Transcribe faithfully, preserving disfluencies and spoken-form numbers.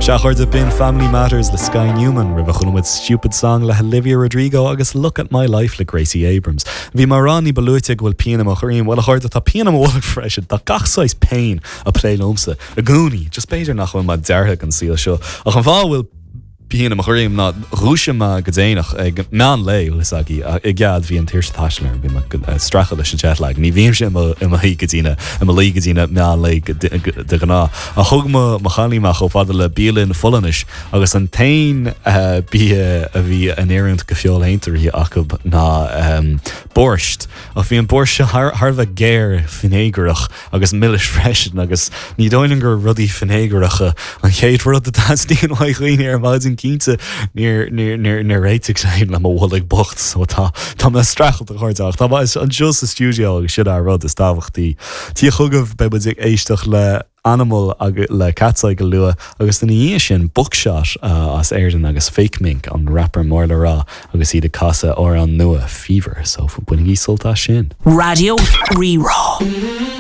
Sea a chairde b'in Family Matters le Sky Newman roimhe chuala muid Stupid Song le Olivia Rodrigo agus Look at My Life le Gracie Abrams. Bhí mé ag rá ní ba luaithe go bhfuil pian i mo dhroim bhuel a chairde tá pian i mo bholg freisin tá gach saghas pain ag plé liomsa i gcónaí, just b'fhéidir nach bhfuil mé deartha don saol seo ach an fáth a bhfuil pian i mo dhroim ná dhúisigh mé go déanach ag meán lae is agi i gcead bhí an tuirse taistil bhí streachailt leis an jetlag. Ní bhímse i mo shuí go dtí i mo luí go dtí meán lae de ghnáth. A thug mo chailín mé chomh fada le bialann Pholainnis agus an t-aon bia a bhí in oiriúint go feoilséantóirí acu ná um, borscht ach bhí an borscht thar a bheith géar fínéagarach agus milis freisin agus ní dóigh liom gur rudaí fínéagaracha an chéad rud a theastaíonn ó dhaoine ar maidin cinnte níor réitigh sé le mo bholg bocht so tá tá mé streachailt a chairde tá anseo sa stiúideo agus sin an rud is tábhachtaí. Tí chugaibh beidh muid ag éisteacht le Animal agus le Katseye go luath agus ina dhiaidh sin Buckshot uh, as Éirinn agus Fake Mink an rapper mór le rá agus iad ag casadh amhrán nua Fever, so bainigí sult as sin. Raidió Rí-Rá.